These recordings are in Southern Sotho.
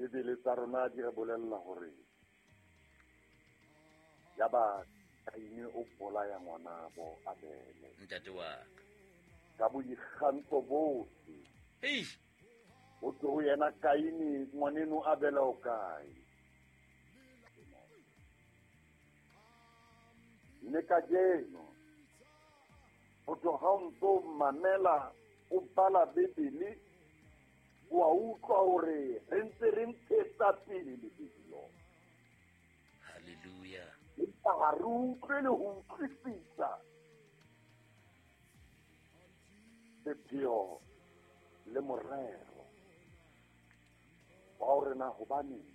Dibebele tsa rona di re bolella hore yaba Kaine o bolaya ngwanabo Abele. Ntate wa ka. Ka boikgantsho bohle. Eish. Ho thwe ho yena Kaine, ngwaneno Abele o kae? Mme kajeno ho thwe ha o ntso mamela o bala Bibele wa utlwa hore re ntse re ntshetsa pele lebelo. Halleluja. Empa ha re utlwe le ho utlwisisa sepheo le morero wa hore na hobaneng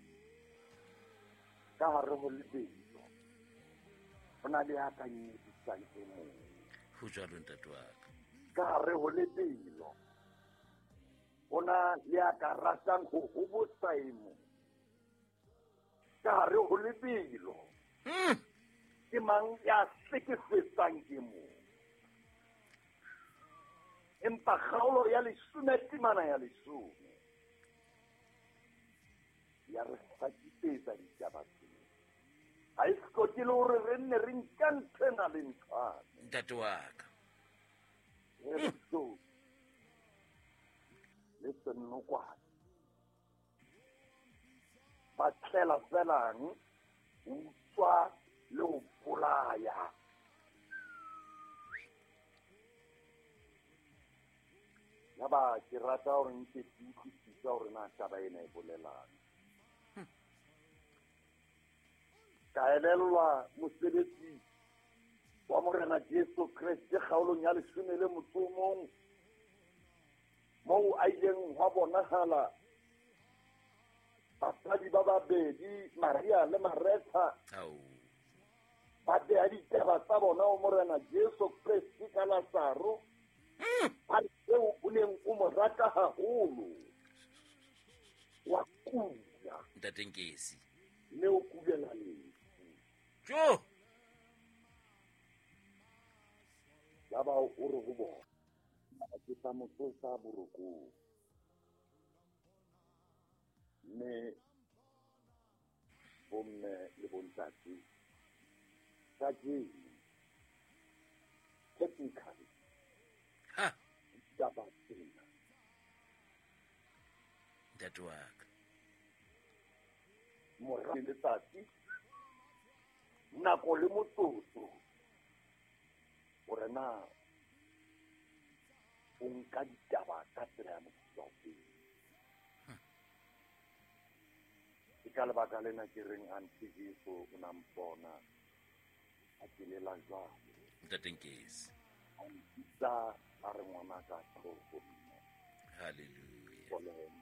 ka hare ho lebelo ho na le ya ka nyedisang e mong. Ho jwalo ntate wa ka. Ka hare ho lebelo ho na le ya ka ratang ho hobosa e mong. Ka hare ho lebelo ke mang ya hlekefetsang ke mong. Empa kgaolo ya 10 temana ya 10 ya re hlakisetsa ditaba tsena. Ha e hloke le hore re nne re nka ntho ena le nthwane. Ntate wa ka. Re hloke le senokwane. Ba tlela felang ho utswa le ho bolaya. Yaba ke rata hore nke ke utlwisise hore na taba ena e bolelang. Ka elellwa mosebetsi wa Morena Jesu Kreste kgaolong ya 11 moo a ileng hwa bonahala basadi ba babedi Maria le Maretha ba beha ditaba tsa bona ho Morena Jesu Kreste ka Lazaro ba re eo o neng o mo rata haholo wa kula. Ntate Nkesi. Mme o kulela lefu. Jo! Yaba o re ho bona, ke tla mo tsosa borokong. Mme bomme le bontate kajeno technically ha ditaba tsena ntate wa ka mora le letsatsi nako le motsotso hore na o nka ditaba ka tsela ya mofuta ofe. Ke ka lebaka lena ke reng Auntie Jesu o na mpona a ke lela jwalo. Ntate Nkesi. A mpitsa a re ngwana ka tlo ho nna. Hallelujah. Boleng.